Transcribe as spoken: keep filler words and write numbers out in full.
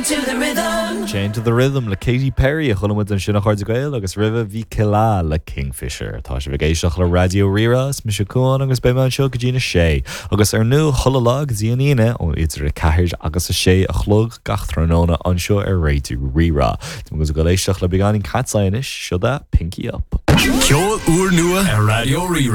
to the rhythm. Chained to the Rhythm le Katy Perry a chuala muid ansin a chairde Gael agus roimhe bhí Kila le Kingfisher. Tá sibh ag éisteacht le Raidió Rí-Rá is mise Cuan agus beidh mé anseo go dtí a sé. Agus ar ndóigh chuile lá go dtí an Aoine ó idir a ceathair agus a sé a chlog gach tráthnóna anseo ar Raidió Rí-Rá. Tá go éisteacht le beagáinín Cat's Eye anois seo Pinky Up. Ceol úrnua ar Raidió Rí-Rá.